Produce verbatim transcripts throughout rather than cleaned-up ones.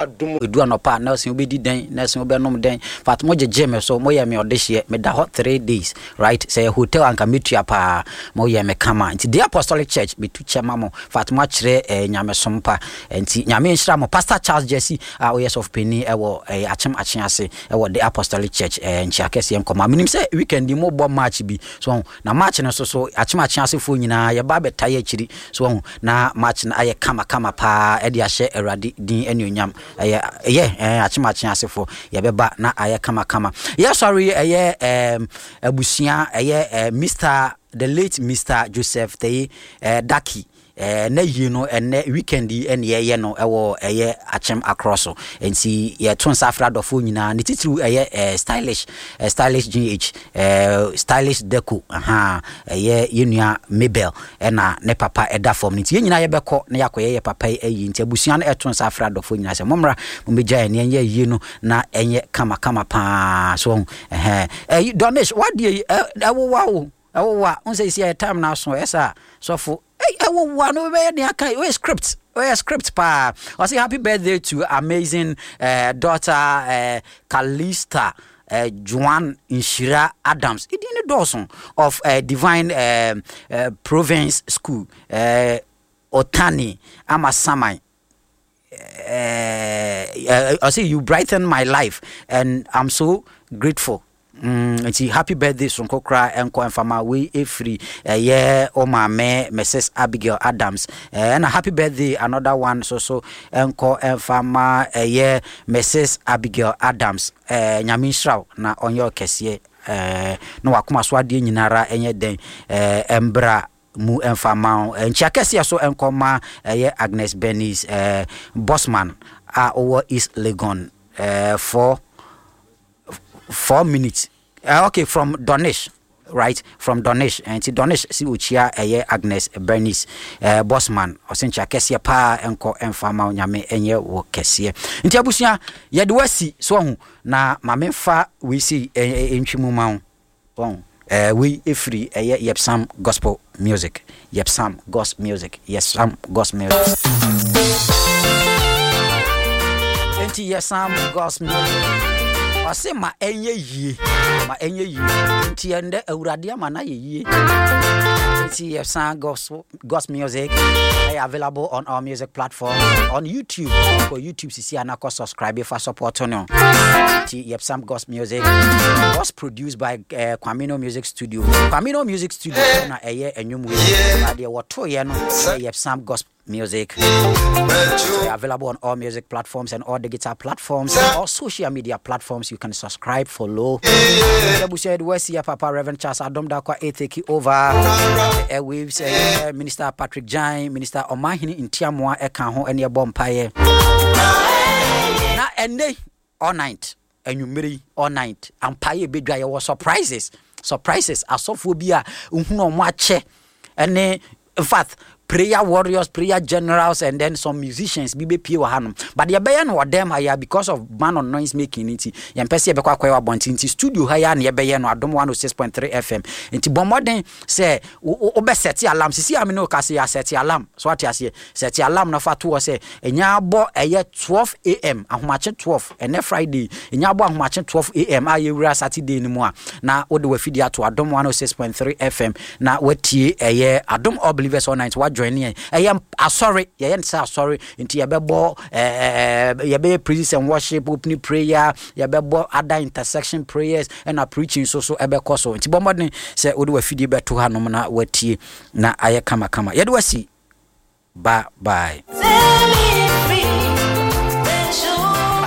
Edu anɔpa a, Nelson wobɛdi dɛn? Nelson wobɛnom dɛn? Fact, mo gyegye me so, moyɛ me ɔdehyeɛ. Meda hɔ three days, right? Sɛ yɛ hotel anka metua paa. Moyɛ me kama. Nti The Apostolic Church, metu kyɛ ma mo. Fact, moakyerɛ eh, nyamesom pa. Nti Nyame nhyira mo. Pastor Charles Jesse a ɔyɛ sɔfo panin ɛwɔ eh, Akyem Akyease ɛwɔ The Apostolic Church eh, nkyea kɛseɛ nkɔma. Menim sɛ weekend yi mobɔ match bi. So wahu? Na match no nso so, Akyem Akyeasefoɔ nyinaa yɛba abɛtae akyiri. So wahu? Na match no ayɛ kama kama paa ɛde ahyɛ Awurade din anuonyam. Ɛyɛ ɛyɛ ɛɛ Akyem Akyeasefoɔ yɛbɛba na ayɛ kama kama. Yɛsɔre yi ɛyɛ ɛɛm abusua ɛyɛ ɛɛ Mister the late Mister Joseph Teye ɛɛ Daki. Ɛɛ na yie no ɛnɛ weekend yi ɛne yɛyɛ no ɛwɔ ɛyɛ Akyem Akorɔ so. Nti yɛto nsa afrɛ adɔfoɔ nyinaa, ne titiriw ɛyɛ ɛɛ stylish ɛɛ stylish G H, ɛɛ stylish Deco, ahaa, ɛyɛ yɛn nua Mabel ɛna ne papa ɛda fam no. Nti yɛn nyinaa yɛbɛkɔ na yɛakɔyɛ yɛ papa yi ayi. Nti abusua no ɛto nsa afrɛ adɔfoɔ nyinaa sɛ mommra mommɛgya yɛn yɛnyɛ ayie no na ɛnyɛ kama kama paa. So ɔho ɛhɛn ɛyi Donish wadeɛ yi ɛwowa o, ɛwowa n sɛ esi ɛyɛ time na aso ɛsɛ a sɔfo ɛwowa no bɛyɛ nea aka ɔyɛ script, ɔyɛ script paa. Ɔsɛ happy birthday to amazing uh, daughter uh, Kalista uh, Joan Nshira Adams, ɛdin ne dɔɔso, of uh, Divine uh, uh, Province School, uh, Otani Amasaman. uh, I say you brighten my life and I'm so grateful. Mm, nti happy birthday soronko koraa ɛnkɔ mfama wei ɛfiri ɛyɛ o maame Missus Abigail Adams. Ɛna happy birthday another one so so ɛnkɔ mfama ɛyɛ Missus Abigail Adams. ɛɛ Nyame nhyira wo na ɔnyɛ ɔkɛseɛ ɛɛ na wakoma so adeɛ nyinara ɛnyɛ dɛn ɛɛ ɛmbra mu ɛmfa ma wo. Nkyia kɛseɛ so ɛnkɔ ma ɛyɛ Agnes Bernice ɛɛ Bosman a ɔwɔ East Legon ɛɛ four four minutes uh, okay, from Donish, right, from Donish. Nti Donish si okyia ɛyɛ Agnes Bernice uh, Bosman. Ɔsɛ nkyia kɛseɛ paa ɛnkɔ ɛmfa ma wo, Nyame ɛnyɛ wɔ kɛseɛ. Nti abusua, yɛde wasi so ɔho na maame fa wei si ɛntwi mu ma wo wɔn ɛɛ wei efiri ɛyɛ Yepsam Gospel Music, Yepsam Gospel Music, Yepsam Gospel Music. Nti Yepsam Gospel Music ɔse ma ɛnyɛ yie, ma ɛnyɛ yie. Nti ɛndɛ Awurade ama no ayɛ yie. Nti Yepsam Gospel Gospel Music ɛyɛ available on our music platform on YouTube. Kɔ YouTube sisi anakɔ subscribe fa support no. Nti Yepsam Gospel Music was produced by uh, Kwamino Music Studio. Kwamino Music Studio na ɛyɛ ɛnwom wei adeɛ wɔtoyɛ no ɛyɛ Yepsam Gospel Music. Available on all music platforms and all digital platforms, all social media platforms. You can subscribe, follow. Papa Reverend Charles Adom Dakwa a take over the airwaves. Uh, Minister Patrick Jai, Minister Omahini Ntiamoa ɛka ho ɛne ɛbɔ mpaeɛ. Na ɛnɛ all night, anwummere yi all night, ampaeɛ ebedwa, yɛwɔ surprises, surprises. Asɔfoɔ bi a nhunu ɔmo akyɛ ɛne in fact prayer warriors, prayer generals and then some musicians bi bɛpie wɔ hanom, but yɛbɛyɛ no wɔ dɛm ha ya because of ban on noise making. Nti yɛmpɛ sɛ yɛbɛkɔ akɔyɛ wɔ abɔnten, nti studio ha ya na yɛbɛyɛ no, Adom one oh six point three F M. Nti bɔ mmɔden sɛ wobɛ set alarm sisi a me ne wo ka sɛ yɛa set alarm so, ate aseɛ? Set alarm na fa to hɔ sɛ ɛnya abɔ ɛyɛ twelve A M, ahomakye twelve, ɛnɛ Friday ɛnya abɔ ahomakye twelve A M a yɛwura Saturday no mu a, na wode wafidie ato Adom one oh six point three F M na watie ɛyɛ Adom All Believers All Night. Wa join yɛn, ɛyɛ asɔre, yɛyɛ no sɛ asɔre. Nti yɛbɛbɔ ɛɛ yɛbɛyɛ praises and worship, opening prayer, yɛbɛbɔ other intercession prayers, ɛna preaching nso so ɛbɛkɔ so. Nti bɔ mmɔden sɛ wode wafidie bɛto hanom na watie na ayɛ kamakama. Yɛde wasi, bye bye.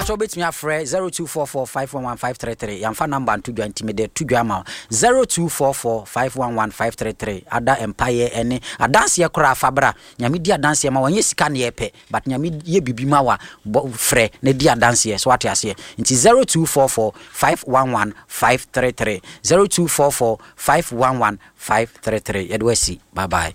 Sɛ wobɛtumi afrɛ zero two four four five one one five three three. Yɛmfa number nto dwa, nti mede to dwa ama wo, zero two four four five one one five three three. Ada mpayɛ ɛne adanseɛ koraa fa bra. Nyame di adanseɛ ma wɔnyɛ sika ne yɛpɛ, but Nyame yɛ biribi ma wa bɔ frɛ na di adanseɛ so, wate aseɛ? Nti zero two four four five one one five three three, zero two four four five one one five three three. Yɛde wasi, bye bye.